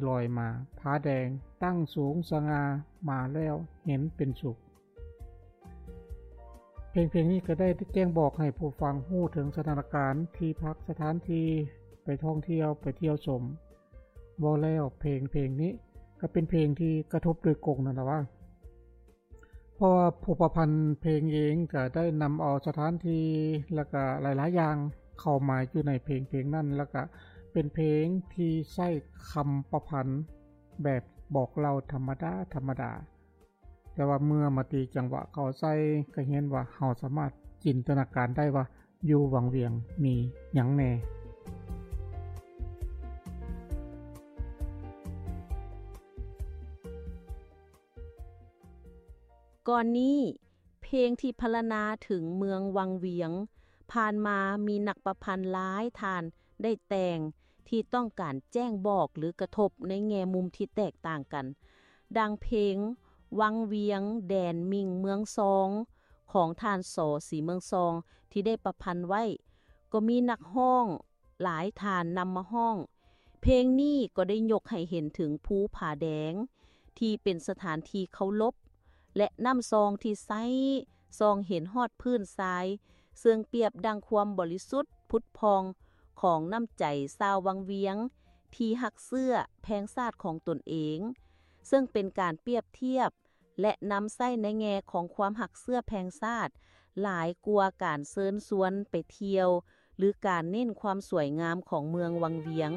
ລອຍມາ ຜາແດງຕັ້ງສູງສະຫງ່າ ມາແລ້ວເຫັນເປັນສຸກ. ເພງເພງນີ້ກໍໄດ້ແຈ້ງບອກໃຫ້ຜູ້ຟັງຮູ້ເຖິງສະຖານະການ ທີ່ພັກ ສະຖານທີ່ໄປທ່ອງທ່ຽວ ໄປທ່ຽວຊົມ. ເວົ້າແລ້ວເພງເພງນີ້ກໍເປັນເພງທີ່ກະທົບໂດຍກົງນັ້ນລະວ່າ ເພາະວ່າຜູ້ປະພັນເພງເອງກໍໄດ້ນຳເອົາສະຖານທີ່ ແລ້ວກໍຫຼາຍໆຢ່າງເຂົ້າມາຢູ່ໃນເພງເພງນັ້ນ ແລ້ວກໍເປັນເພງທີ່ໃຊ້ຄຳປະພັນແບບບອກເລົ່າທຳມະດາໆ ແຕ່ວ່າເມື່ອມາຕີຈັງຫວະເຂົ້າໃສ່ ກໍເຫັນວ່າເຮົາສາມາດຈິນຕະນາການໄດ້ວ່າຢູ່ວັງວຽງມີຫຍັງແດ່. ກ່ອນນີ້ ເພງທີ່ພັນລະນາເຖິງເມືອງວັງວຽງ ຜ່ານມາມີນັກປະພັນຫຼາຍທ່ານໄດ້ແຕ່ງ ທີ່ຕ້ອງການແຈ້ງບອກ ຫຼື ກະທົບໃນແງ່ມຸມທີ່ແຕກຕ່າງກັນ, ດັ່ງເພງ ວັງວຽງ ແດນມິ່ງເມືອງຊອງ ຂອງທ່ານ ສ ສີເມືອງຊອງ ທີ່ໄດ້ປະພັນໄວ້, ກໍມີນັກຮ້ອງຫຼາຍທ່ານນຳມາຮ້ອງ. ເພງນີ້ກໍໄດ້ຍົກໃຫ້ເຫັນເຖິງພູຜາແດງ ທີ່ເປັນສະຖານທີ່ເຄົາລົບ ແລະ ນ້ຳຊອງທີ່ໃສ ສ່ອງເຫັນຮອດພື້ນຊາຍ ເຊິ່ງປຽບດັ່ງຄວາມບໍລິສຸດຜຸດຜ່ອງຂອງນ້ຳໃຈຊາວວັງວຽງ ທີ່ຮັກເຊື້ອແພງຊາດຂອງຕົນເອງ, ເຊິ່ງເປັນການປຽບທຽບ ແລະ ນຳໃຊ້ໃນແງ່ຂອງຄວາມຮັກເຊື້ອແພງຊາດ ຫຼາຍກວ່າການເຊີນຊວນໄປທ່ຽວ ຫຼື ການເນັ້ນຄວາມສວຍງາມຂອງເມືອງວັງວຽງ.